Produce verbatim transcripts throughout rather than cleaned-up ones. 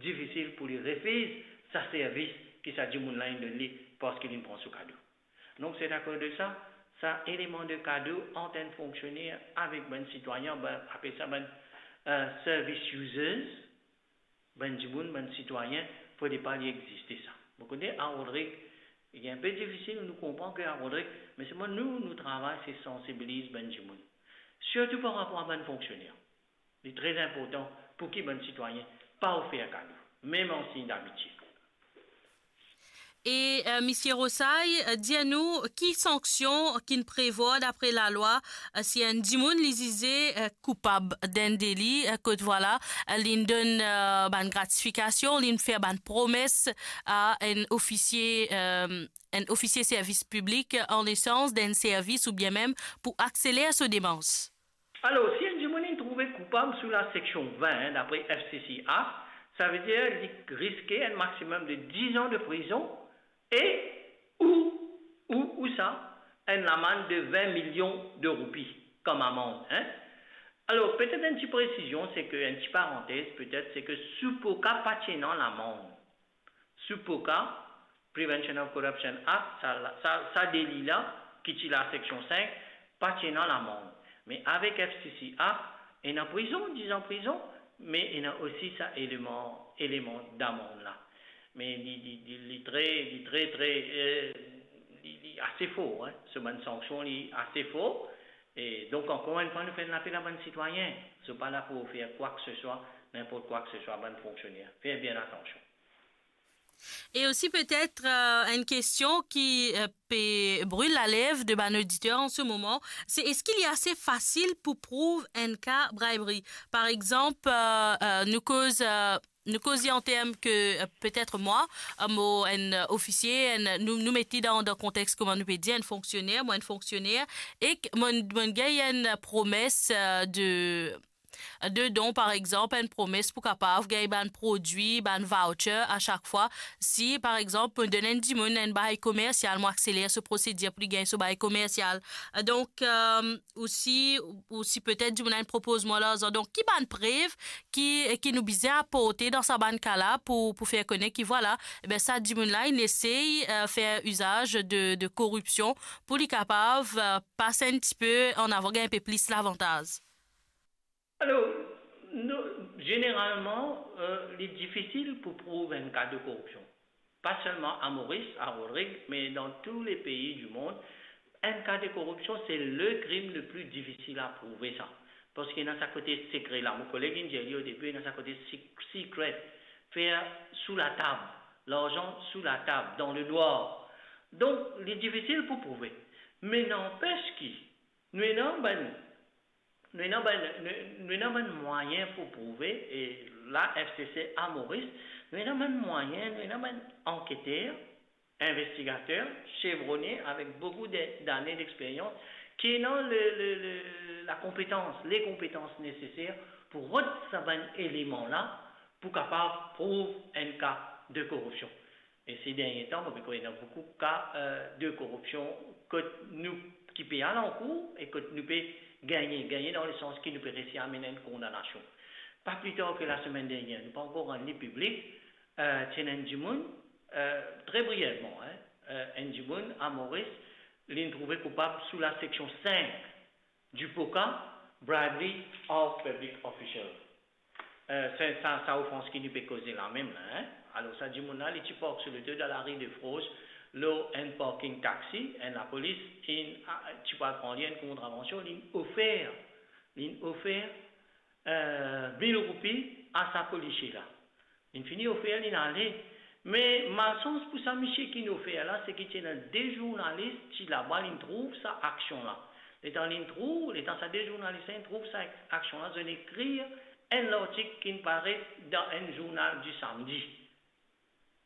difisil pou li refiz sa servis ki sa dimoun la inn donn li parski li pran so kado. Donk, se akoz de sa, sa eleman de kado ant enn fonksioner avek bann sitwayen, bann, apel sa bann, eh, service users, bann dimoun, bann sitwayen, fode pa li existe sa. Mo kone a Rodrig, li enpe difisil, nou konpran ki a Rodrig, me selman nou, nou travay, se sansibiliz bann dimoun. Sirtou par rapor a bann fonksioner. Li tre inportan pou ki bann sitwayen pa ofer kado, mem an sign damitie. E, eh, Misie Rosay, eh, dir nou, ki sanksion ki'nn prevwar dapre lalwa, eh, si enn dimoun li zize, eh, koupab d'enn deli, eh, kot vwala, eh, li'nn donn, eh, bann gratifikasion, li'nn fer bann promes a enn ofisie, eh, enn ofisie servis piblik, eh, an esans d'enn servis oubien mem pou akseler so demars? Alor, si enn dimoun inn trouve koupab sou laseksion vin, dapre F C C Act, savedir li riske enn maximum de dix an de prizon e ou, ou, ou sa, enn lamann de vin milion de roupi kom amann, en. Alor, petet enn ti presizion, se ke, enn ti parantez, petet, se ke SOPOCA pa ti ena lamann. SOPOCA, Prevention of Corruption Act, sa, sa, sa deli la, ki ti laseksion sink, pa ti ena lamann. Me avek F C C Act, ena prizon, dix an prizon, me ena osi sa eleman, eleman damann la. Me li, li, li, li tre, li tre, tre, eh, li, li ase for, en. So bann sanksion, li ase for. E donk, ankor enn fwa, nou fer enn lapel a bann sitwayen. Zot pa la pou ofer kwa ki se swa, ninport kwa ki se swa, bann fonksioner. Fer bien atansion. E osi petet, eh, enn kestion ki, eh, pe bril lalev de bann oditer an se moman, se eski li ase fasil pou prouv enn ka bribery? Par exanp, eh, eh, nou koz, eh, nou koz li an term ke, eh, petet mwa, eh, mo enn, eh, ofisie, enn, nou, nou met li dan, dan kontex, kouma nou pe dir, enn fonksioner, mo enn fonksioner, ek mo, mo gagn enn promes, eh, de de don, par exanp, enn promes pou kapav gagn bann prodwi, bann voucher a sak fwa. Si, par exanp, mo donn enn dimoun enn bagay komersial, mo akseler so prosedir pou li gagn so bagay komersial. Donk, eh, osi, osi petet dimoun la inn propoz mwa larzan. Donk, ki bann prev ki, ki nou bizin aporte dan sa bann ka la pou, pou fer kone ki, vwala, ebe, sa dimoun la, inn esey, eh, fer izaz de, de koripsion pou li kapav, eh, pas enn tipe an avan, gagn enpe plis lavantaz? Alor, nou, zeneralman, eh, li difisil pou prouv enn ka de koripsion. Pa selman a Moris, a Rodrig, me dan tou le pei di mond, enn ka de koripsion, se le krim le pli difisil a prouve sa. Parski ena sa kote sekre la. Mo koleg inn dir li o debi, ena sa kote sek-, secret. Fer sou latab. Larzan sou latab, dan lenwar. Donk, li difisil pou prouve. Me nanpes ki, nou ena bann Nou ena bann, nou, nou ena bann mwayin pou prouve, e la F C C a Moris, nou ena bann mwayin, nou ena bann anketer, investigater, chevrone avek boukou de, dane dexperyans, ki ena le, le, le, lakonpetans, lekonpetans neseser pou rod sa bann eleman la, pou kapav prouv enn ka de koripsion. E se dernie tan, mo pe krwar ena boukou ka, eh, de koripsion kot nou ki pe al ankour e kot nou pe gagne, gagne dan lesans ki nou pe resi amenn enn kondanasion. Pa pli tar ke lasemenn dernie, nou pa ankor rann li piblik, eh, ti ena enn dimoun, eh, tre brievman, en, eh, enn dimoun a Moris, li'nn trouve koupab sou laseksion sink du POCA, bribery of public official. Eh, se sa, sa ofans ki nou pe koze la mem la, en. Alor, sa dimoun la, li ti park so loto dan lari de Froz, lor enn parking taxi, enn lapolis inn, a, ti pou al pran li enn kontravansion, li'nn ofer, li'nn ofer, eh, mil roupi a sa polisie la. Li'nn fini ofer, li'nn ale. Me malsans pou sa misie ki'nn ofer la, se ki ti ena de zournalis ti laba, li'nn trouv sa aksion la. Letan li'nn trouv, letan sa de zournalis la inn trouv sa aksion la, zot inn ekrir enn lartik ki'nn paret dan enn zournal di samdi.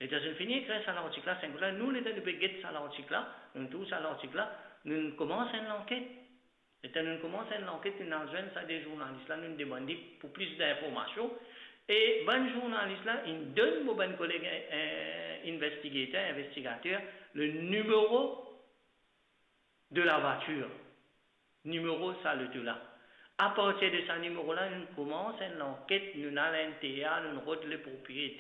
Letan zot inn fini ekrir sa lartik la, sink la, nou, letan nou pe get sa lartik la, nou trouv sa lartik la, nou koumans enn lanket. Letan nou koumans enn lanket, nou al zwenn sa de zournalis la, nou demann li pou plis dinformasion. E bann zournalis la, inn donn mo bann koleg, eh, investigater, investigater, le nimero de la voiture, nimero sa loto la. Apartir de sa nimero la, nou koumans enn lanket, nou al N T A, nou rod le propriete.